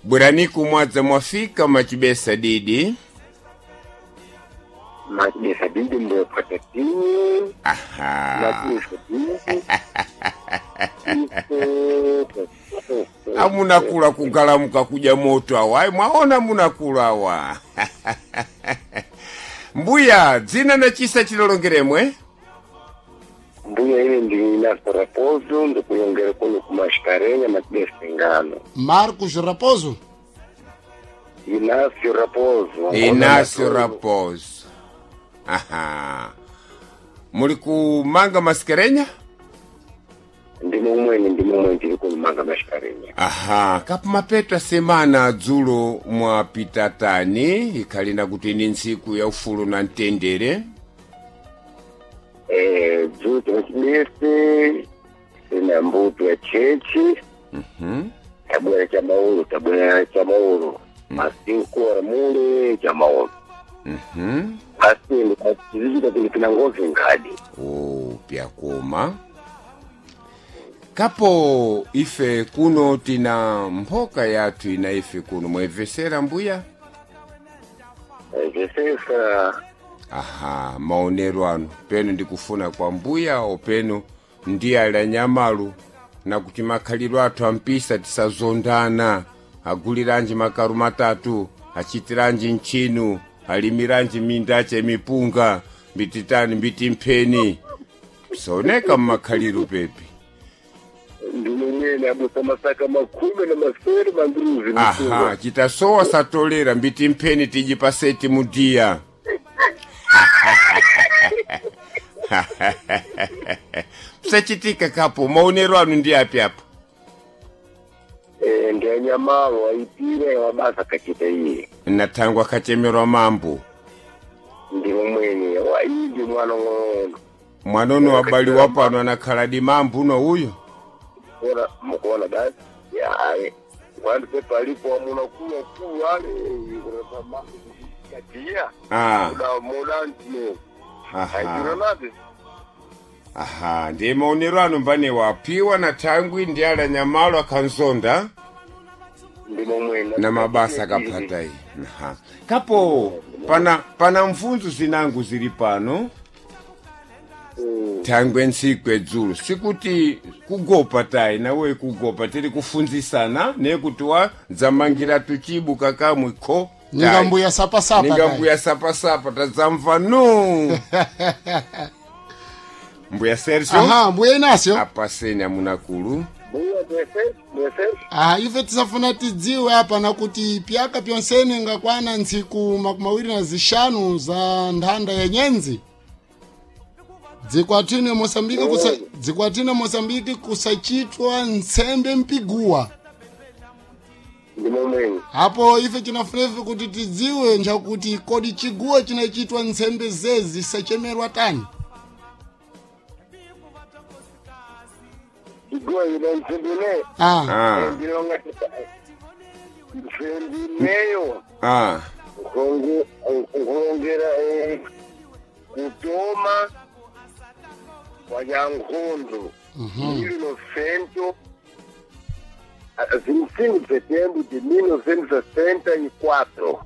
Bweraniku mwadza mwafika machibesa didi. Machibesa didi ndopata tinyi. Aha. Machibesa didi. Amunakula kugalamuka kuja moto awa. Ayi, mwaona munakula awa. Mbuya, dzina na chisa chilolongeremwe? Mbuya ine ndili Inácio Raposo ndikulongera kuno kumashikarenya machibesa ngano. Marcos Raposo. Inácio Raposo. Inácio Raposo. Aha. Muli kumanga maskerenya? Ndimo mwene ndimo mwene ndili kumanga mashikarenya. Aha, kapu mapeto semana dzulo mwapita tani ikhalina kuti ni ntsiku ya ufulu na mtendere. Eh, dzulo machibese ina mbuto ya chechi. Tabwera cha maulu, tabwera cha maulu. Masiku mule cha maulu. Asi ndikachizika kuti ngozi ngadi. O pyakoma. Kapo ife kuno tina mphoka yathu ina ife kuno mwayimvesera mbuya? Zesesa. Aha, maonero anu peno ndikufuna kwa mbuya openo ndiye ali anyamalu na kuti makhalidwe athu ampisa tisazondana, aguliranji makaru matatu, achitiranji ntchinu, alimiranji minda mipunga, mbititani mbitimpheni, psaoneka mmakhaliro pepi. Ndimo mwene abusa masaka makumi na masere manduzi. Aha, chitasowa satolera mbitimpheni tiji paseti mudiya. Psachitika kapo maonero anu ndi api apo? Eh, ndi anyamalo aipire wabasa kachita iye. Nathangwa akachemerwa mambo. Ndimo mwene waidi mwana ng'ono. Mwanono wabaliwa pano anakhala di mambo uno uyu. Kuona mukuona basi yaye wandu pepalipo wamuna kuwa kuwa ale katia. Ah, Muda muda ntino. aha. Aironade. Aha, ndiye maonero anu mbane wapiwa na thangwi ndi ali anyamalo akhanzonda Ndimo mwene. na mabasa akaphata iyi. Aha. Kapo pana mfunzo zinangu zili pano. Thangwe ntsiku edzulo sikuti kugopa tayi nawe kugopa tili kufunzisana nekuti wa dzamangira tuchibu kakamwe kho Ninga tayi. mbuya sapasapa. Ninga tayi. mbuya sapasapa tadzamva no. Mbuya Sergio. Aha, mbuya Inácio. Apaseni amunakulu. Mbuya mwese mwese. Aha, ife tisafuna tidziwe apa nakuti pyaka pyonsene ngakwana ntsiku 25 za nthanda ya nyenzi. Dzikwatine Mosambiki kusa, dzikwatine Mosambiki kusachitwa ntsembe mpiguwa. Ndimo mwene. Apo ife tinafunefe kuti tidziwe njakuti kodi chiguwa chinachitwa ntsembe zezi sachemerwa tani. Chiguwa ino ntsembene. Ah, Ah, Ndilonga ntsembineyo. ah. Nkulongera kutoma kwa nyankhondo 1900 25 de setembro de 1964.